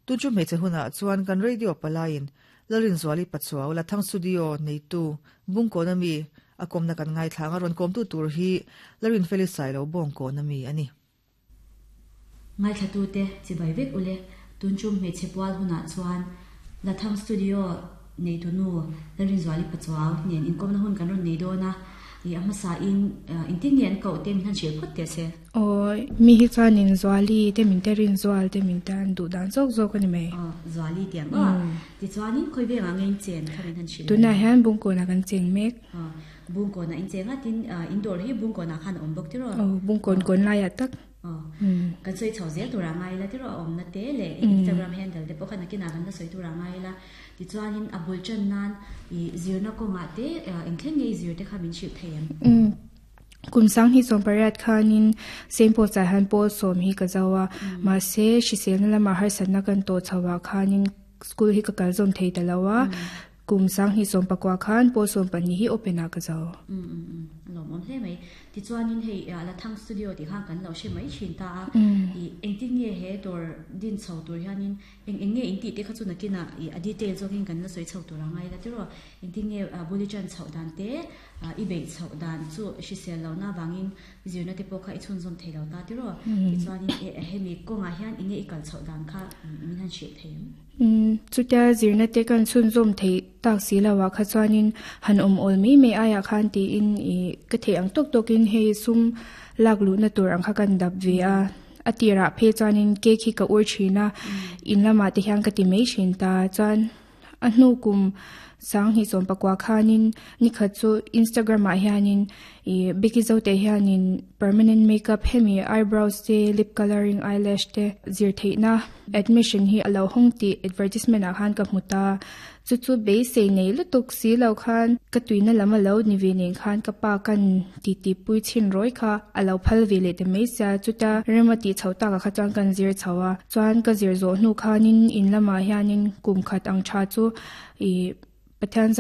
Tun chu hmeichhe hunah chuan kan radio palaiin Lalrinzuali Pachuau Lathang Studio neitu Bungkawn ami a kawmna kan ngaithlang a, rawn kawmtu tur hi Larinfeli Sailo Bawngkawn ami a ni. Ngaithlatute chibai vek ule, tun chu hmeichhe pual hunah chuan Lathang Studio neitu nu Lalrinzuali Pachuau nen inkawmna hun kan rawn nei dawn a, ih a hmasa in engtin nge an koh te min han hrilh phawt teh se. Aw, mi hi chuanin Zuali te min te Rinzual te min te an duh dan zawk zawk a ni mai. Aw, Zuali tih ang aw. Tichuanin khawi vengah nge in chen kha min han hrilh. Tunah hian Bungkawnah kan cheng mek. Aw, Bungkawnah in cheng a, tin indoor hi Bungkawnah khan a awm bawk tiraw? Aw, Bungkawn kawn laiah tak. Aw, kan sawi chho zel tur a ngai ila tiraw a awmna te leh Instagram handle te pawh kha nakinah kan la sawi tur a ngai ila. Tichuanin a bul tan nan i zirna kawngah te engthleng nge i zir te kha min hrilh thei em? Kum sang hi 18 khanin Saint Paul's ah hian pawl sawm hi ka zo a, mahse hriselna lamah harsatna kan tawh chho ah khanin school hi ka kal zawm thei ta lo a, Kum 2019 khan pawl 12 hi open ah ka zo. Umm umm umm a lawmawm hle mai. Tichuanin hei Lathang Studio tih khan kan lo hre mai thin ta a, ih engtin nge he dawr din chho tur hianin eng eng nge in tih te kha chu nakinah ih a detail zawkin kan la sawi chho tur a ngai la tiraw. Engtin nge buli chan chhoh dan te i beih chhoh dan chu hrisel lohna avangin zirna te pawh kha i chhunzawm thei lo ta tiraw. Tichuanin hemi kawngah hian enge i kal chhoh dan kha min han hrilh thei ang. Chutia zirna te kan chhunzawm theih tak si lo ah kha chuanin han awm awl mai mai aiah khan tiin ih ka theih ang tawk tawkin hei sum lak luhna tur ang kha kan dap ve a, a tirah phei chuanin cake hi ka ur thin a, in lamah te hian ka ti mai thin ta chuan a hnu kum 2019 khanin nikhat chu Instagram ah hianin ih Becky Zote hianin permanent makeup hemi eyebrows te lip colouring eyelash te zir theihna admission hi a lo hawng tih advertisement ah khan ka hmu ta chu chu beisei nei lutuk si lo khan ka tuina lam a lo ni ve nen khan ka pa kan titi pui chhin rawi kha a lo phal ve leh ta mai sia chuta rem a tih chhoh takah kha chuan kan zir chho a chuan ka zir zawh hnu khanin in lamah hianin kum khat ang tha chu ih Pathian.